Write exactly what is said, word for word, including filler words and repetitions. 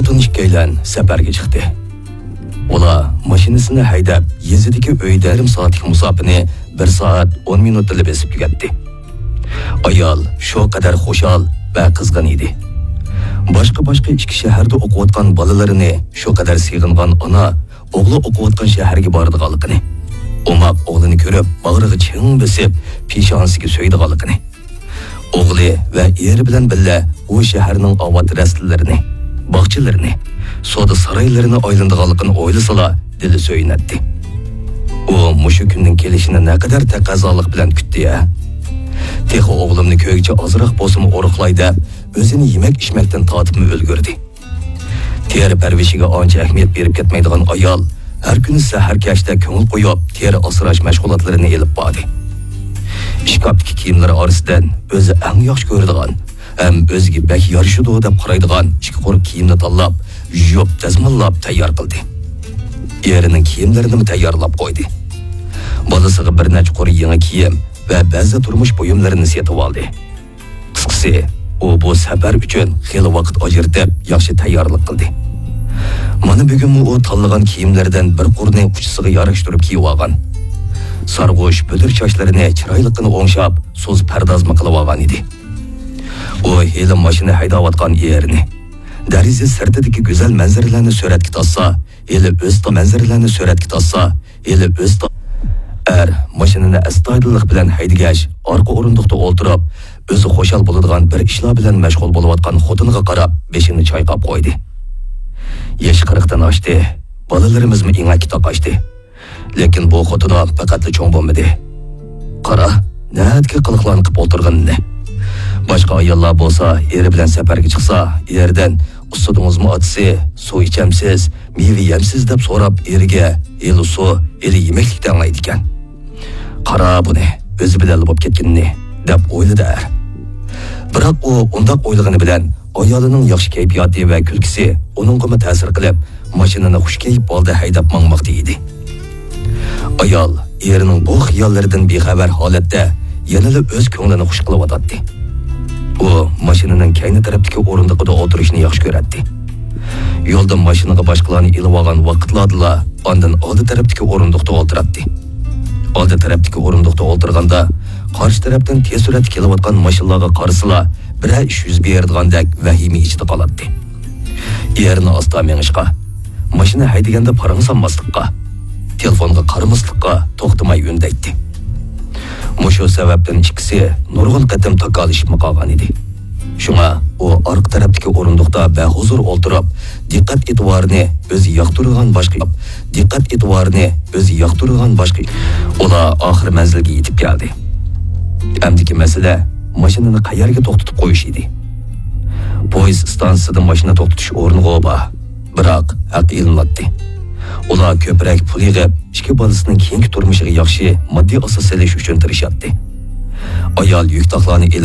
خوتۇن ئىككىيلەن سەپەرگە چىقتى. ئۇلار ماشىنىسىنى ھەيدەپ، يېزىدىكى ئۆيدىن يېرىم سائەتلىك مۇساپىنى بىر سائەت ئون مىنۇتتىلا بېسىپ تۈگەتتى. ئايال شۇ قەدەر خۇشال ۋە قىزغىن ئىدى. باشقا-باشقا ئىككى شەھەردە ئوقۇۋاتقان بالىلىرىنى شۇ قەدەر سېغىنغان ئانا ئوغلى ئوقۇۋاتقان شەھەرگە بارىدىغانلىقىنى، ئوماق ئوغلىنى كۆرۈپ باغرىغا چىڭ بېسىپ، پېشانىسىگە سۆيىدىغانلىقىنى، ئوغلى ۋە ئېرى بىلەن بىللە ئۇ شەھەرنىڭ ئاۋات رەستىلىرىنى، باغچىلىرىنى، سودا سارايلىرىنى ئايلىنىدىغانلىقىنى ئويلىسىلا دىلى سۆيۈنەتتى. ئۇ مۇشۇ كۈننىڭ كېلىشىنى نەقەدەر تەقەززالىق بىلەن كۈتتى ھە! تېخى ئوغلۇمنى كۆرگۈچە ئازراق بولسىمۇ ئورۇقلاي دەپ، ئۆزىنى يېمەك-ئىچمەكتىن تارتىپمۇ ئۈلگۈردى. تېرە پەرۋىشىگە ئانچە ئەھمىيەت بېرىپ كەتمەيدىغان ئايال ھەر كۈنى سەھەر كەچتە كۆڭۈل قويۇپ، تېرە ئاسراش مەشغۇلاتلىرىنى ئېلىپ باردى. ئىشكاپتىكى كىيىملىرى ئارىسىدىن ئۆزى ئەڭ ياخشى كۆرىدىغان ھەم ئۆزىگە بەك يارىشىدۇ دەپ قارايدىغان ئىككى قۇر كىيىمنى تاللاپ، يۇيۇپ، دەزماللاپ تەييار قىلدى. ئېرىنىڭ كىيىملىرىنىمۇ تەييارلاپ قويدى. بالىسىغا بىر نەچچە قۇر يېڭى كىيىم ۋە بەزى تۇرمۇش بۇيۇملىرىنى سېتىۋالدى. قىسقىسى، ئۇ بۇ سەپەر ئۈچۈن خېلى ۋاقىت ئاجرىتىپ، ياخشى تەييارلىق قىلدى. مانا بۈگۈنمۇ ئۇ تاللىغان كىيىملىرىدىن بىر قۇرنى ئۇچىسىغا ياراشتۇرۇپ كىيىۋالغان. سارغۇچ بۈدۈر چاچلىرىنى چىرايلىققىنا ئوڭشاپ، سوزۇپ پەردازمۇ قىلىۋالغان ئىدى. ئۇ ھېلى ماشىنا ھەيدەۋاتقان ئېرىنى، دېرىزە سىرتىدىكى گۈزەل مەنزىرىلەرنى سۈرەتكە تارتسا، ھېلى ئۆز تا-، مەنزىرىلەرنى سۈرەتكە تارتسا، ھېلى ئۆز تا-، ئەر ماشىنىنى ئەستايىدىللىق بىلەن ھەيدىگەچ، ئارقا ئورۇندۇقتا ئولتۇرۇپ، ئۆزى خۇشال بولىدىغان بىر ئىشلار بىلەن مەشغۇل بولۇۋاتقان خوتۇنىغا قاراپ، بېشىنى چايقاپ قويدى. يېشى قىرىقتىن ئاشتى. بالىلىرىمىزمۇ ئېڭەككە تاقاشتى. لېكىن بۇ خوتۇنۇم پەقەتلا چوڭ بولمىدى. قارا، نەدىكى قىلىقلارنى قىپ ئولتۇرغىنىنى. باشقا ئاياللار بولسا، ئېرى بىلەن سەپەرگە چىقسا، ئېرىدىن، «ئۇستىدىڭىزمۇ ئاتىسى، سۇ ئىچەمسىز، مېۋە يەمسىز؟» دەپ سوراپ، ئېرىگە ھېلى سۇ، ھېلى يېمەكلىك دەڭلايدىكەن. «قارا بۇنى، ئۆزى بىلەنلا بولۇپ كەتكىنىنى» دەپ ئويلىدى ئەر. بىراق ئۇ ئۇنداق ئويلىغىنى بىلەن ئايالىنىڭ ياخشى كەيپىياتى ۋە كۈلكىسى ئۇنىڭغىمۇ تەسىر قىلىپ، ماشىنىنى خۇش كەيپ ھالدا ھەيدەپ ماڭماقتا ئىدى. ئايال ئېرىنىڭ بۇ خىياللىرىدىن بىخەۋەر ھالەتتە يەنىلا ئۆز كۆڭلىنى خۇش قىلىۋاتاتتى. ئۇ ماشىنىنىڭ كەينى تەرەپتىكى ئورۇندۇقىدا ئولتۇرۇشنى ياخشى كۆرەتتى. يولدا ماشىنىغا باشقىلارنى ئېلىۋالغان ۋاقىتلاردىلا ئاندىن ئالدى تەرەپتىكى ئورۇندۇقتا ئولتۇراتتى. ئالدى تەرەپتىكى ئورۇندۇقتا ئولتۇرغاندا، قارشى تەرەپتىن تېز سۈرئەتتە كېلىۋاتقان ماشىنىلارغا قارىسىلا، بىرەر ئىش يۈز بېرىدىغاندەك ۋەھىمە ئىچىدە قالاتتى. ئېرىنى ئاستا مېڭىشقا، ماشىنا ھەيدىگەندە پاراڭ سالماسلىققا، تېلېفونغا قارىماسلىققا توختىماي ئۈندەيتتى. مۇشۇ سەۋەبتىن ئىككىسى نۇرغۇن قېتىم تاكالىشىپمۇ قالغان ئىدى. شۇڭا ئۇ ئارقا تەرەپتىكى ئورۇندۇقتا بەھۇزۇر ئولتۇرۇپ، دىققەت ئېتىبارىنى ئۆزى ياقتۇرىدىغان باشقا، دىققەت ئېتىبارىنى ئۆزى ياقتۇرىدىغان باشقا. ئۇلار ئاخىر مەنزىلگە يېتىپ كەلدى. ئەمدىكى مەسىلە ماشىنىنى قەيەرگە توختىتىپ قويۇش ئىدى. پويىز ئىستانسىسىدا ماشىنا توختىتىش ئورنىغۇ بار، بىراق ھەق ئېلىناتتى. ئۇلار كۆپرەك پۇل يىغىپ، ئىككى بالىسىنىڭ كېيىنكى تۇرمۇشىغا ياخشى ماددىي ئاساس سېلىش ئۈچۈن تىرىشاتتى. ئايال يۈك تاقلارنى ئېلىپ،